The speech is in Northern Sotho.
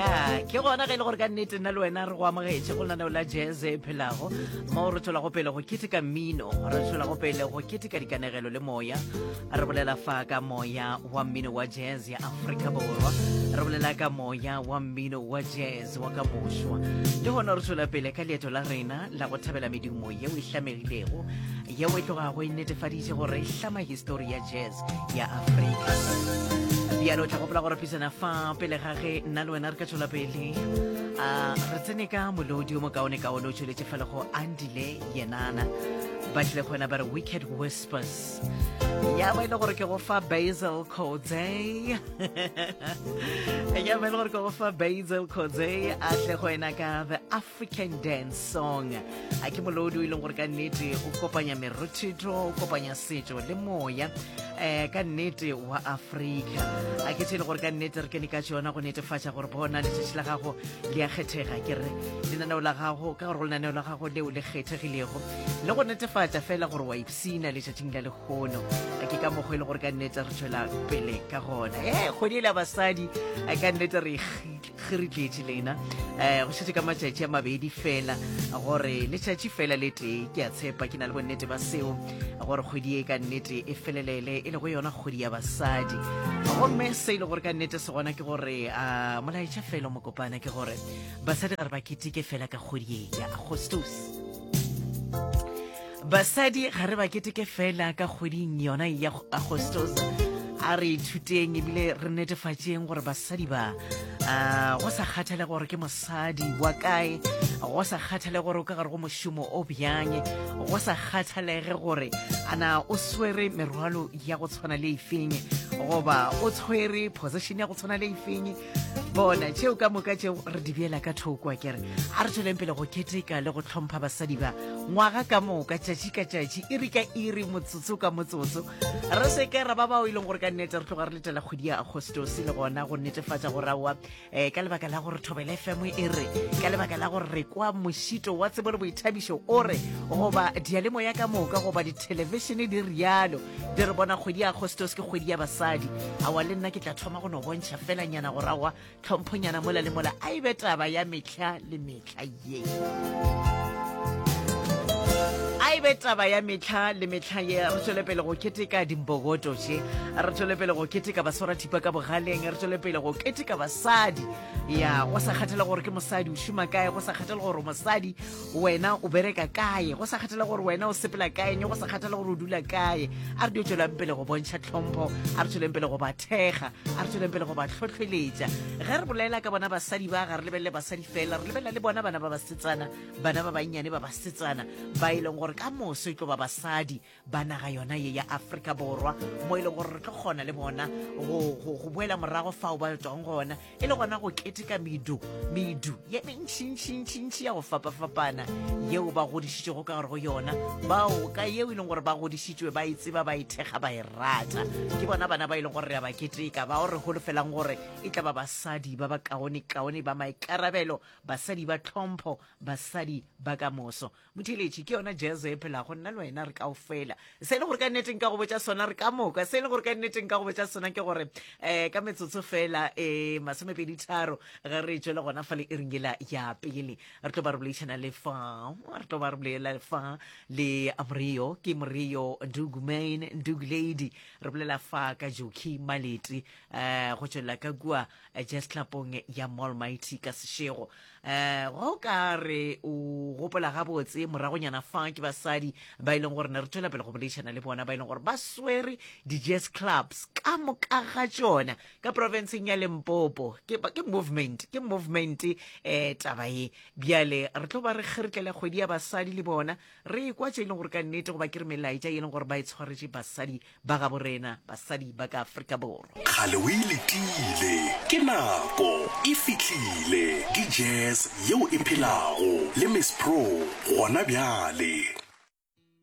Ya, ke gona ge e le gore ka nnete nna le wena re go amogetše go lenaneo la jazz e phelago mo re tswelago pele go keteka mmino, re tswelago pele go keteka dikanegelo le moya. Re bolela fa ka moya wa mmino wa jazz ya Afrika Borwa, re bolela ka moya wa mmino wa jazz wa ka mošwa. Le gona re tswela pele ka leeto la rena la go thabela medumo yeo e hlamegilego, yeo e tlogago e netefaditše gore e hlama histori ya jazz ya Afrika. Bjalo o tla gopola gore pisana fa pele ga ge nna le wena re ka tšwela pele a re tsene ka molodi o mokaonekaone o tšweletše fa le go Andile Yenana ba tlile go wena ba re Wicked Whispers ya ba e le gore ke go fa Basil Coetzee ya ba e le gore ke go fa Basil Coetzee a tle go wena ka The African Dance Song a ke molodi o e leng gore ka nnete o kopanya merothetho o kopanya setšo le moya um ka nnete wa afrika a ke tše e le gore ka nnete re kene ka tšona go netefatša gore bona letšatši la gago le a kgethega ke re lenaneo la gago ka gore go lenaneo la gago leo le kgethegilego le go netefatša fela gore wa ipsina letšatšing la lehono a ke ka mokgwa e le gore ka nnete re tšwela pele ka gona e kgwedi e le ya basadi a ka nnete re ge re tletše lena um go šetše ka matšatši a mabedi fela gore letšatši fela le tee ke a tshepa ke na le bonnete ba seo gore kgwedi e ka nnete e felelele e le go yona kgwedi ya basadi gomme se e le gore ka nnete se gona ke gore a molaetša fela mokopana ke gore basadi ga re ba keteke fela ka kgwedi e ya agostos Basadi ga re ba keteke fela ka kgweding yona ya Agostos. A re ithuteng ebile re netefatšeng gore basadi ba uh, go sa kgathale gore ke mosadi wa kae, go sa kgathale gore o ka gare go mošomo o bjang, go sa kgathalege gore ana o swere merwalo ya go tshwana le efeng goba o tshwere position ya go tshwana le efeng. Bona tšeo ka moka tšeo re di beela ka thoko a kere a re tšweleng pele go keteka le go tlhompha basadi ba ngwaga ka moka tšatši ka tšatši iri ka iri motsotso ka motsotso re se ke ra ba bao e leng gore ka nnete re tloga re letela kgwedi ya agostose le gona go netefatša gore aowa um ka lebaka la gore thobela fm e re ka lebaka la gore re kwa mošito wa tsebo le boithabišo o re goba diyalemoya ka moka goba dithelebišene di rialo di re bona kgwedi ya agostose ke kgwedi ya basadi aowa le nna ke tla thoma go no bontšha felanyana gore aowa tlhomphonyana mola le mola a e be taba ya mehla le mehla ye a e be taba ya mehla le mehla ye re tšwele pele go keteka dimbokoto tše re tšwele pele go keteka baswarathipa ka bogaleng re tšwele pele go keteka basadi ya go sa kgathale gore ke mosadi o šoma kae go sa kgathale gore mosadi wena o bereka kae go sa kgathale gore wena o sepela kae go sa kgathale gore o dula kae a re dio tšwelang pele go bontšha tlhompho a re tšweleng pele go ba thekga a re tšweleng pele go ba hlohleletša ge re bolela ka bona basadi ba ga re lebelele basadi fela re lebelela le bona bana ba basetsana bana ba bannyane ba basetsana ba e leng gore ka moso e tlo ba basadi ba naga yona ye ya Afrika Borwa mo e leng gore re tlo kgona le bona go, go, go boela morago fao ba tswang gona e le gona go keteka medu medu ye mentšintšintšintši ya go fapafapana yeo ba godišitšego ka gore go yona bao ka yeo e leng gore ba godišitšwe ba e tseba ba e thekga ba e rata ke bona bana ba e leng gore re a ba keteka bao re holofelang gore e tla ba basadi ba ba kaone-kaone ba maikarabelo basadi ba tlhompho basadi ba ka moso Motheeletši, ke yona jazz e phelago, nna le wena re kaofela. Se e le gore ka nnete nka go botša sona, re ka moka. Se e le gore ka nnete nka go botša sona ke gore um ka metsotso fela um masomepeditharo ge re tšwele gona fa le iring yela ya pele re tlo ba re boledišana le fa re tlo ba re bolela fa le Morio ke Morio Ndugu Man Ndugu Lady re bolela fa ka Jockey Maleti um go tšwelela ka kua Jazz Clubong ya Mallmighty ka Seshego Um go ka re o gopola gabotse moragonyana fa ke basadi ba e leng gore ne re tšwela pele go boledišana le bona ba e leng gore ba swere di-jazz clubs ka moka ga tšona ka profenseng ya Limpopo. Ke, ke movement, ke movement um taba ye. Bjale re tlo ba re kgeritlela kgwedi ya basadi le bona re ekwa tše e leng gore ka nnete goba ke re melaetša e leng gore ba e tshwaretše basadi ba gabo rena basadi ba ka Afrika Borwa. Kgale o e letile, ke nako e fihlile, ke jazz yeo e phelago le Miss Pro gona bjale.